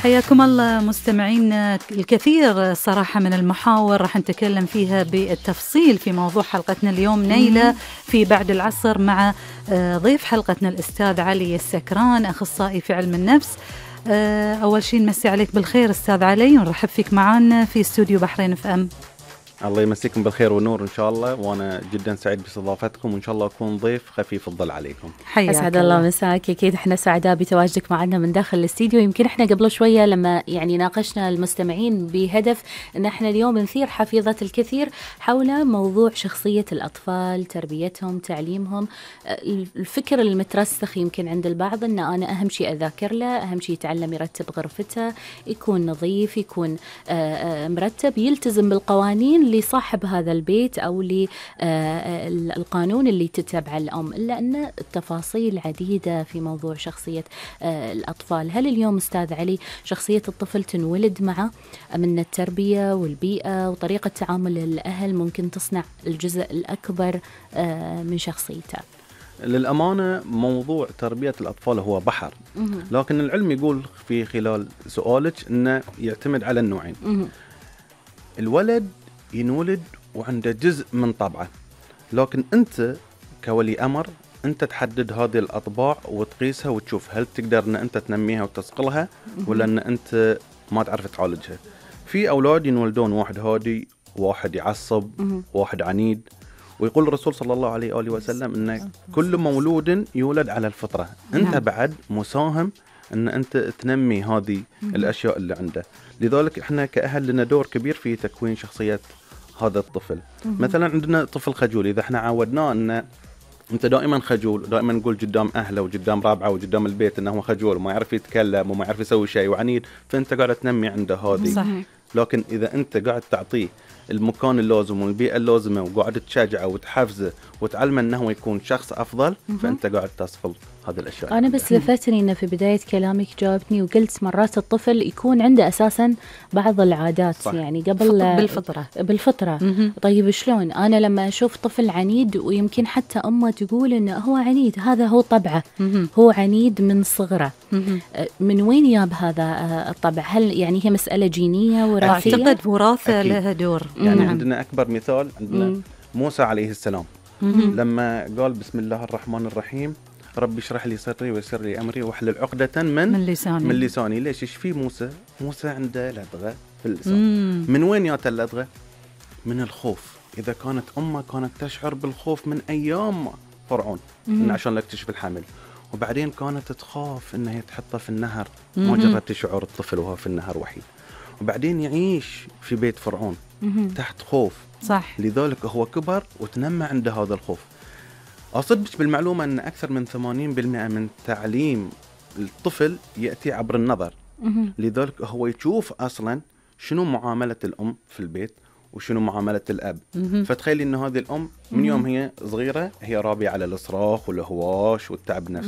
حياكم الله مستمعين. الكثير صراحة من المحاور راح نتكلم فيها بالتفصيل في موضوع حلقتنا اليوم نيلة في بعد العصر مع ضيف حلقتنا الأستاذ علي السكران، أخصائي في علم النفس. أول شيء نمسي عليك بالخير أستاذ علي، ونرحب فيك معنا في استوديو بحرين اف ام. الله يمسيكم بالخير والنور إن شاء الله، وأنا جدا سعيد باستضافتكم، وإن شاء الله أكون ضيف خفيف الظل عليكم. أسعد الله مساك. أكيد إحنا سعداء بتواجدك معنا من داخل الاستديو. يمكن إحنا قبل شوية لما ناقشنا المستمعين بهدف أن إحنا اليوم نثير حفيظة الكثير حول موضوع شخصية الأطفال، تربيتهم، تعليمهم. الفكر المترسخ يمكن عند البعض أن أنا أهم شيء أذاكر له، أهم شيء يتعلم يرتب غرفته، يكون نظيف، يكون مرتب، يلتزم بالقوانين لصاحب هذا البيت أو للقانون اللي تتبع الأم. إلا أن التفاصيل عديدة في موضوع شخصية الأطفال. هل اليوم أستاذ علي شخصية الطفل تنولد معه من التربية والبيئة وطريقة تعامل الأهل ممكن تصنع الجزء الأكبر من شخصيته؟ للأمانة موضوع تربية الأطفال هو بحر، لكن العلم يقول في خلال سؤالك أنه يعتمد على النوعين. الولد ينولد وعنده جزء من طبعه، لكن أنت كولي أمر أنت تحدد هذه الأطباع وتقيسها وتشوف هل تقدر أن أنت تنميها وتصقلها ولا أن أنت ما تعرف تعالجها. في أولاد ينولدون واحد هادي، واحد يعصب، واحد عنيد، ويقول الرسول صلى الله عليه وآله وسلم أن كل مولود يولد على الفطرة. أنت بعد مساهم أن أنت تنمي هذه الأشياء اللي عنده. لذلك إحنا كأهل لنا دور كبير في تكوين شخصية هذا الطفل. مثلا عندنا طفل خجول، إذا إحنا عودناه أن أنت دائما خجول، دائما نقول قدام أهله وقدام رابعه وقدام البيت أنه هو خجول وما يعرف يتكلم وما يعرف يسوي شيء وعنيد، فأنت قاعد تنمي عنده هذه. صحيح. لكن إذا أنت قاعد تعطيه المكان اللازم والبيئة اللازمة وقاعد تشجعه وتحفزه وتعلمه أنه يكون شخص أفضل، فأنت قاعد تصقل هذه الأشياء. أنا بس لفتني أنه في بداية كلامك جاوبتني وقلت مرات الطفل يكون عنده أساسا بعض العادات. صح. يعني قبل بالفطرة. طيب شلون أنا لما أشوف طفل عنيد ويمكن حتى أمه تقول أنه هو عنيد، هذا هو طبعه، هو عنيد من صغره، من وين ياب هذا الطبع؟ هل يعني هي مسألة جينية وراثية؟ أعتقد وراثة لها دور. يعني عندنا أكبر مثال عندنا موسى عليه السلام لما قال بسم الله الرحمن الرحيم ربي اشرح لي صدري ويسر لي أمري واحلل عقدة من لساني. ليش؟ ايش في موسى عنده لدغة في اللسان. من وين جات اللدغة؟ من الخوف. إذا كانت أمه كانت تشعر بالخوف من أيام فرعون عشان لا يكتشف الحمل، وبعدين كانت تخاف إنها تحطه في النهر. ما جربت تشعر الطفل وهو في النهر وحيد، وبعدين يعيش في بيت فرعون تحت خوف. صح. لذلك هو كبر وتنمى عنده هذا الخوف. أصدق بالمعلومة أن أكثر من 80% من تعليم الطفل يأتي عبر النظر. لذلك هو يشوف أصلا شنو معاملة الأم في البيت وشنو معاملة الأب. فتخيلي أن هذه الأم من يوم هي صغيرة هي رابية على الإصراخ والهواش والتعب نفسي.